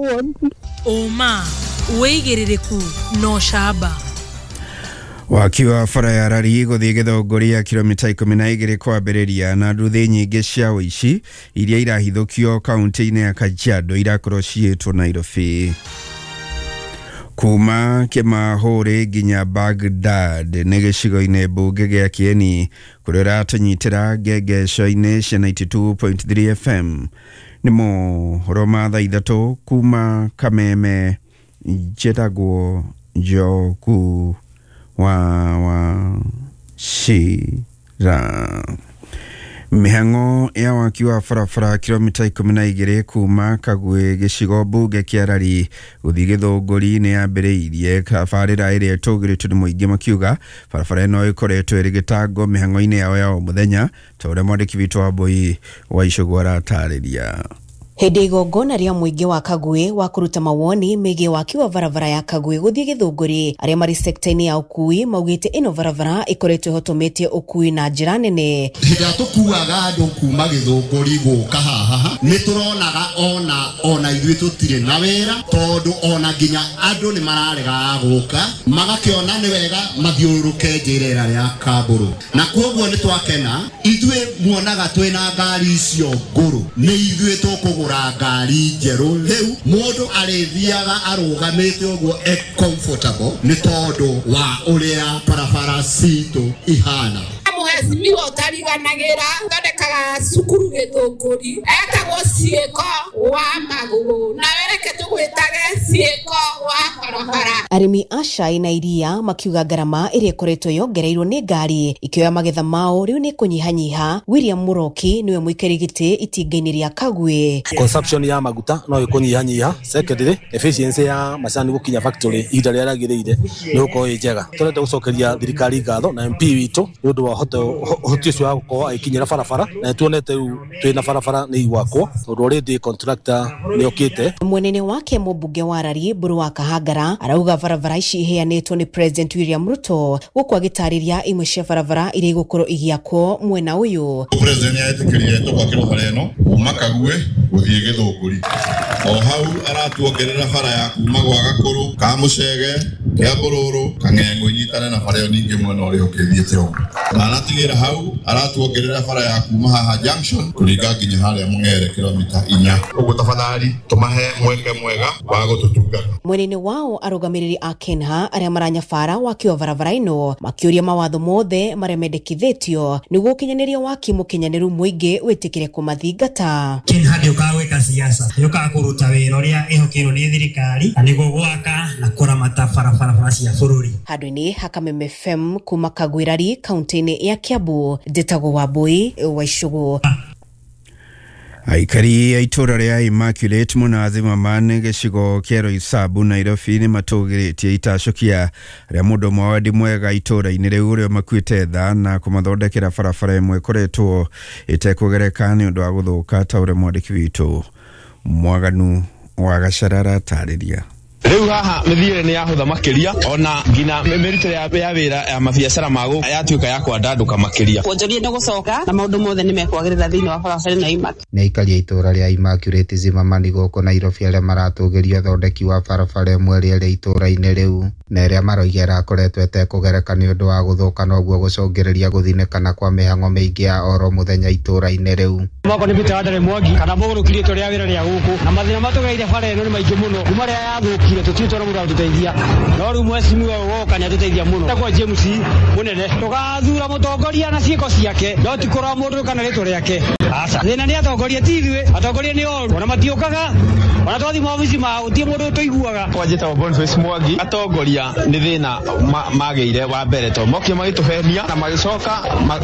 Ũma, wĩigĩrĩrĩku no camba. Waki wa bara ya Rari gũthiĩ Gĩthũngũri kilomita ikũmi na igĩrĩ kwambĩrĩria na nduthi nyingĩ cia ũici iria irahithũkio kaunti-inĩ ya Kajiado irakorwo ciĩtwo Nairobi. Kuma Kĩmahũrĩ nginya Baghdad nĩ gĩcigo-inĩ mbunge gĩa Kieni kũrĩa ũratũnyitĩra ngengeco-inĩ cia ninety two point three F M. Nĩ mohoro ma thaa ithatũ kuma Kameme, njĩtagwo Njoku wa wa Shira. Mĩhang'o ya waki wa barabara kilomita ikũmi na igĩrĩ kuma Kagwe gĩcigo mbunge kĩa Rari gũthiĩ Gĩthũngũri nĩ yambĩrĩirie tabarĩra ĩrĩa ĩtũgĩrĩtio nĩ mũingĩ makiuga barabara ĩno ĩkoretwo ĩrĩ gĩtango mĩhang'o-inĩ yao ya o mũthenya ta ũrĩa mwandĩki witũ wa Mbui wa Icũgũ aratarĩria. Hĩndĩ igongona rĩa mũingĩ wa Kagwe wa kũruta mawoni megiĩ waki wa barabara ya Kagwe gũthiĩ Gĩthũngũri, arĩa marĩ sekta-inĩ ya ũkui maugĩte ĩno barabara ĩkoretwo ĩhotomĩtie ũkui na njĩra nene. Hĩndĩ ĩrĩa tũkuaga andũ kuma Gĩthũngũri gũka haha nĩ tũronaga ona ona ithuĩ tũtirĩ na wĩra tondũ ona nginya andũ nĩ mararegaga gũka magakĩona nĩ wega mathiũrũrũke njĩra ĩrĩa ya Kambũrũ, na kwoguo nĩ twakena ithuĩ muonaga twĩna ngari icio ngũrũ nĩ ithuĩ tũkũgũra ngari njerũ rĩu mũndũ arĩthiaga arũgamĩte ũguo e comfortable nĩ tondũ wa ũrĩa barabara citũ ihana. Mũhecimiwa ũtariganagĩra thondekaga cukuru Gĩthũngũri etagwo Ciĩko wa magũrũ na wereke tũgwĩtage Ciĩko wa barabara. Arĩmi a cai na iria makiuga ngarama ĩrĩa ĩkoretwo yongereirwo nĩ ngari ikĩoya magetha mao rĩu nĩ kũnyihanyiha. William Mũroki nĩwe mũikarĩri gĩtĩ itinga-inĩ rĩa Kagwe. Consumption ya maguta no ĩkũnyihanyiha. Secondly, efficiency ya macani gũkinya factory ihinda rĩrĩa rĩagĩrĩire nĩ gũkorwo ĩ njega. Tũrenda gũcokeria thirikari ngatho na M P witũ nĩ ũndũ wa ũhoti ũcio wa gũkorwo agĩkinyĩra barabara na tuonete rĩu twĩna barabara nĩ igwakwo tondũ already contractor nĩ okĩte. Mwenene wake mũmbunge wa Rari Mburu wa Kahangara arauga barabara ici iheanĩtwo nĩ President William Ruto gũkũ agĩtarĩria imwe cia barabara iria igũkorwo igĩakwo mwena ũyũ. President nĩetĩkĩrire tũgwakĩrwo bara ĩno kuma Kagwe gũthiĩ Gĩthũngũri, o hau aratuongerera bara ya kuma gwa Gakũrũ ka Mũcege Kĩambũrũrũ Kang'eng'ũ inyitane na bara ĩyo ningĩ mwena ũrĩa ũkĩthiĩte ũguo, na aratigĩra hau aratuongerera bara ya kuma haha junction kũringa nginya harĩa Mũng'ere kilomita inya. Ũguo tafadhali tũmahe mweke mwega wa gũtũtungata. Mwena-inĩ wao arũgamĩrĩri a Kenha arĩa maranyabara waki wa barabara ĩno makĩũria mawatho mothe marĩa mendekithĩtio nĩguo ũkinyanĩria waki mũkinyanĩru mũingĩ wĩtĩkĩre kũmathingata. Kenha ndĩũkaga gwĩka siasa, yũkaga kũruta wĩra ũrĩa ĩhokeirwo nĩ thirikari na nĩguo gwaka na kũramata barabara cia bũrũri. Handũ-inĩ ha Kameme F M kuma Kagwirari kaunti-inĩ ya Kiambu, njĩtagwo Wambui wa Icũgũ. Aikari a itũra rĩa Immaculate Mũnathi Mamani gĩcigo kĩa Roysambu Nairobi nĩ matũgĩrĩtie itacũkia rĩa mũndũ ũmwe wa wendi mwega itũra-inĩ rĩu ũrĩa makuĩte tha na kũmathondekera barabara ĩmwe ĩkoretwo ĩtekũgereka nĩ ũndũ wa gũthũka ta ũrĩa mwandĩki witũ Mwaganu wa Gacarara atarĩria. Rĩu haha mĩthiĩre nĩ yahũtha makĩria ona nginya mĩrutĩre ya wĩra ya mabiacara mago yatuĩka ya kwandandũka makĩria. Wonjoria nĩ gũcoka na maũndũ mothe nĩ mekwagĩrĩra thĩinĩ wa barabara na Immaculate. Nĩ aikari a itũra rĩa Immaculate Zimmerman gũkũ Nairobi arĩa maratũgĩria ũthondeki wa barabara ĩmwe ĩrĩa ĩrĩ itũra-inĩ rĩu na ĩrĩa maroiga ĩrakoretwo ĩtekũgereka nĩ ũndũ wa gũthũka noguo gũcũngĩrĩria gũthinĩkana kwa mĩhang'o mĩingĩ ya oro mũthenya itũra-inĩ rĩu. Mwako nĩ Peter Wandare Mwangi kana mũgũrũki rĩtwa rĩa wĩra rĩa gũkũ na mathĩna matũgereire bara ĩno nĩ maingĩ mũno kuma rĩrĩa yathũkire tũtirĩ twona mũndũ wa gũtũteithia no rĩu mheshimiwa woka nĩ atũteithia mũno. Etagwo James Mũnene tũgathura mũtongoria na ciĩko ciake no ti kũrora mũndũ kana rĩtwa rĩake. Aca thĩna nĩ atongoria ti ithuĩ, atongoria nĩ oru ona matiũkaga ona twathi maobici mao ti mũndũ ũtũiguaga. Kwa njĩtagwo Boniface Mwangi atongoria nĩ thĩna magĩire wa mbere to mokire magĩtũhenia na magĩcoka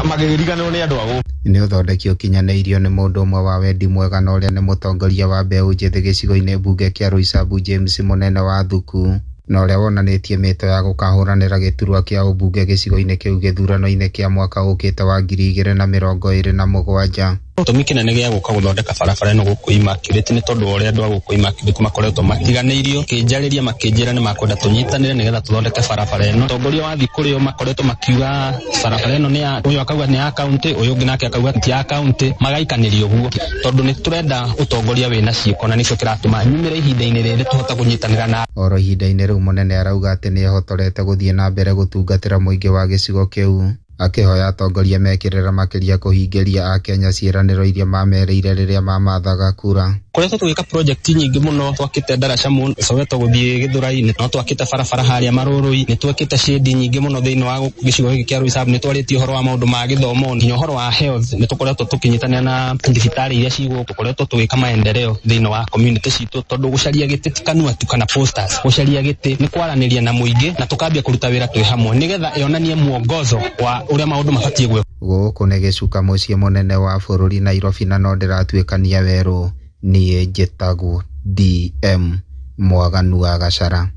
magĩriganĩrwo nĩ andũ a gũkũ. Nĩ ũthondeki ũkinyanĩirio nĩ mũndũ ũmwe wa wendi mwega na ũrĩa nĩ mũtongoria wa mbeũ njĩthĩ gĩcigo-inĩ mbunge kĩa Roysambu James Mũnene wa Thuku na ũrĩa wonanĩtie mĩto ya gũkahũranĩra gĩturwa kĩa ũmbunge gĩcigo-inĩ kĩu gĩthurano-inĩ kĩa mwaka ũkĩte wa ngiri igĩrĩ na mĩrongo ĩrĩ na mũgwanja. Gĩtũmi kĩnene gĩa gũka gũthondeka barabara ĩno gũkũ Immaculate nĩ tondũ wa ũrĩa andũ a gũkũ Immaculate makoretwo matiganĩirio kĩnjarĩria makĩnjĩra nĩ makwenda tũnyitanĩre nĩgetha tũthondeke barabara ĩno. Atongoria wathiĩ kũrĩ o makoretwo makiuga barabara ĩno nĩ ya ũyũ akauga nĩ ya kaunti ũyũ ũngĩ nake akauga ti ya kaunti magaikanĩria ũguo tondũ nĩ tũrenda ũtongoria wĩna ciĩko na nĩkĩo kĩratũma nyumĩre ihinda-inĩ rĩrĩ tũhote kũnyitanĩra na oro ihinda-inĩ rĩu Mũnene arauga atĩ nĩ ehotorete gũthiĩ na mbere gũtungatĩra mũingĩ wa gĩcigo kĩu akĩhoya atongoria mekĩrĩra makĩria kũhingĩria akenya ciĩranĩro iria mamerĩire rĩrĩa mamathaga kura. Koretwo tũgĩka project nyingĩ mũno twakĩte ndaraca mũno Soweto gũthiĩ Gĩthũrai no twakĩte barabara harĩa Marũrũi nĩ twakĩte shade nyingĩ mũno thĩinĩ wa gĩcigo gĩkĩ kĩa Roysambu nĩ twarĩtie ũhoro wa maũndũ ma gĩthomo nginya ũhoro wa health nĩ tũkoretwo tũkĩnyitanĩra na thibitarĩ iria ci gũkũ tũkoretwo tũgĩka maendeleo thĩinĩ wa community citũ tondũ gũcaria gĩtĩ ti kanua tu kana posters gũcaria gĩtĩ nĩ kwaranĩria na mũingĩ na tũkambia kũruta wĩra twĩ hamwe nĩgetha yonanie mwongozo wa ũrĩa maũndũ mabatiĩ gwĩkwo. Gũkũ nĩ gĩcuka mũciĩ mũnene wa bũrũri Nairobi na no ndĩratuĩkania werũ niĩ njĩtagwo D M Mwaganu wa Gacara.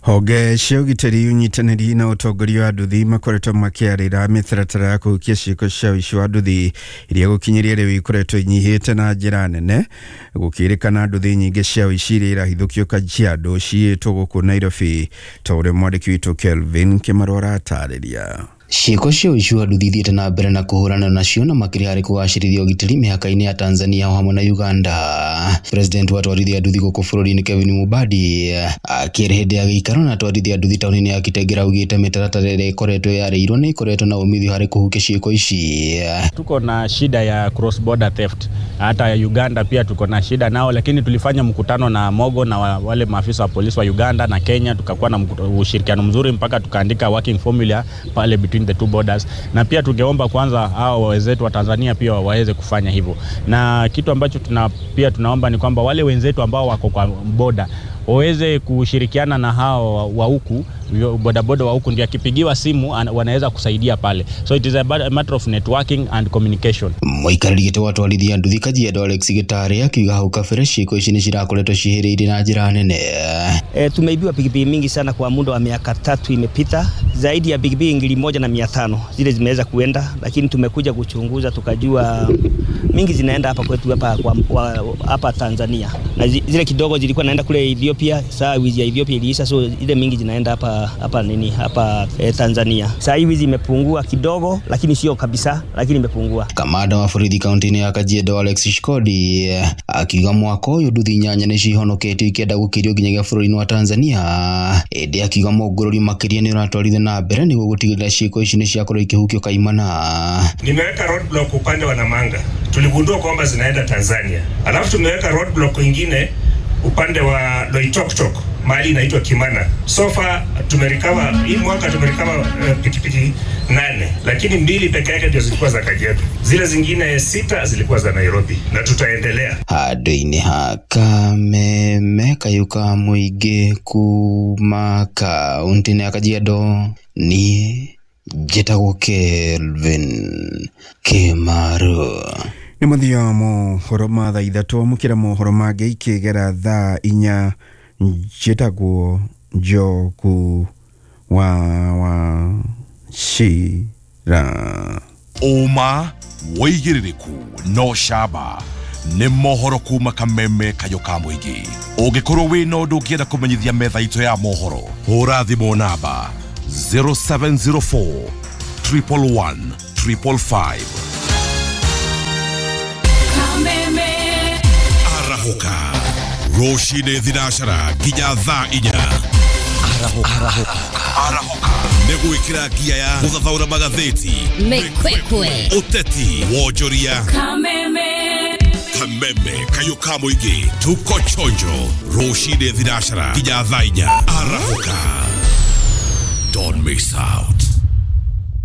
Honge cia ũgitĩri ũnyitanĩri na ũtongoria wa nduthi makoretwo makĩarĩra mĩtaratara ya kũhukia ciĩko cia ũici wa nduthi iria gũkinyĩria rĩu ikoretwo inyihĩte na njĩra nene gũkĩrĩkana nduthi nyingĩ cia ũici iria irahithũkio Kajiado ciĩtwo gũkũ Nairobi ta ũrĩa mwandĩki witũ Kelvin Kĩmarũ aratarĩria. Ciĩko cia ũici wa nduthi ithiĩte na mbere na kũhũrana nacio na makĩria harĩ kũgacĩrithia ũgitĩri mĩhaka-inĩ ya Tanzania o hamwe na Uganda. President wa atwarithia nduthi gũkũ bũrũri-inĩ Kevin Mubadi akĩra hĩndĩ ya gĩikaro na atwarithia nduthi taũni-inĩ ya Kitengela augĩte mĩtaratara ĩrĩa ĩkoretwo yarĩirwo nĩ ĩkoretwo na umithio harĩ kũhukia ciĩko ici. Tuko na shida ya cross border theft, hata Uganda pia tuko na shida nao, lakini tulifanya mkutano na Mogo na wale maafisa wa polisi wa Uganda na Kenya, tukakuwa na ushirikiano mzuri mpaka tukaandika working formula pale between the two borders, na pia tungeomba kwanza hao wenzetu wa Tanzania pia waweze kufanya hivyo. Na kitu ambacho tuna pia tunaomba ni kwamba wale wenzetu ambao wako kwa border waweze kushirikiana na hao wa huku bodaboda wa huku, ndio akipigiwa simu wanaweza kusaidia pale. So it is a matter of networking and communication. Mũikarĩri gĩtĩ wa atwarithia nduthi Kajiado Alex Gĩtarĩ akiuga hau kabere ciĩko ici nĩ cirakoretwo cihĩrĩire na njĩra nene. E, tumeibiwa pikipiki mingi sana kwa muda wa miaka tatu imepita, zaidi ya pikipiki ngiri moja na mia tano zile zimeweza kuenda, lakini tumekuja kuchunguza tukajua mingi zinaenda hapa kwetu hapa kwa hapa Tanzania, na zile kidogo zilikuwa naenda kule Ethiopia. Saa wizi ya Ethiopia iliisha, so ile mingi zinaenda hapa hapa nini hapa eh, Tanzania. Saa hizi zimepungua kidogo, lakini sio kabisa, lakini imepungua. Kamanda wa borithi kaunti-inĩ ya Kajiado Alex Shikodi akiuga mwaka ũyũ nduthi inyanya nĩ cihonoketio ikĩenda gũkĩrio nginyagia bũrũri-inĩ wa Tanzania, ĩndĩ akiuga mũngũrũri makĩria nĩ ũratwarithio na mbere nĩguo gũtigĩrĩra ciĩko ici nĩ ciakorwo ikĩhukio kaimana. Nimeweka roadblock upande wa Namanga, tuligundua kwamba zinaenda Tanzania, alafu tumeweka roadblock ingine upande wa Loitoktok mahali inaitwa Kimana. So far tumerikava hii mwaka tumerikava uh, pikipiki nane, lakini mbili peke yake ndio zilikuwa za Kajiado, zile zingine sita zilikuwa za Nairobi, na tutaendelea. Handũ-inĩ ha Kameme Kayuka mũingĩ kuma kaunti-inĩ ya Kajiado, niĩ njĩtagwo Kelvin Kĩmaru. Nĩ mũthia mohoro ma thaa ithatũ, amũkĩra mohoro mangĩ ikĩgera thaa inya. Njĩtagwo Njogu wa wa Cira. Ũma, wĩigĩrĩrĩku no camba nĩ mohoro kuma Kameme Kayũ ka mũingĩ. Ũngĩkorwo wĩna ũndũ ũngĩenda kũmenyithia metha itũ ya mohoro, hũra thimũ namba zero seven zero four triple one triple five. Kameme. Arahũka rũcinĩ thinacara nginya thaa inya. Arahũka. Arahũka nĩ gwĩkĩra ngia ya gũthathaũra magathĩti, mĩkwekwe, ũteti, wonjoria. Kameme. Kameme Kayũ ka mũingĩ, tuko chonjo rũcinĩ thinacara nginya thaa inya. Arahũka, don't miss out.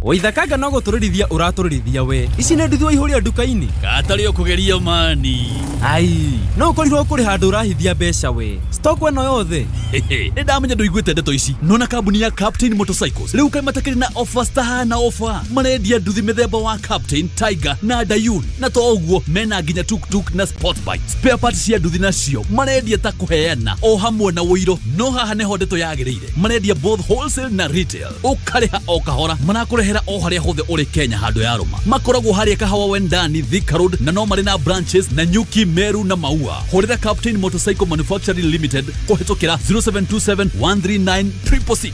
Waithakanga no gũtũrĩrithia ũratũrĩrithia we. Ici nĩ nduthi waihũria nduka-inĩ. Gatarĩ ũkũgeria mani. Ai, no ũkorirwo kũrĩ handũ ũrahithia mbeca we. Stock ĩno yothe. Nĩ ndamenya ndũiguĩte ndeto ici. Nona kambuni ya Captain Motorcycles rĩu kaĩ matakĩrĩ na offers tahana offer. Marendia nduthi mĩthemba wa Captain, Tiger na Dayun. Na to ũguo mena nginya tuk-tuk na sport bike. Spare parts cia nduthi nacio marendia ta kũheana o hamwe na ũiro. No haha nĩho ndeto yagĩrĩire. Marendia both wholesale na retail. Ũkarĩha o kahora. Marakũrehera o harĩa hothe ũrĩ Kenya handũ ya rũma. Makoragwo harĩa Kahawa Wendani, Thika Road, na no marĩ na branches na Nyuki, Meru na Maua. Hũrĩra Captain Motorcycle Manufacturing Limited kũhĩtũkĩra zero seven two seven one three nine triple six.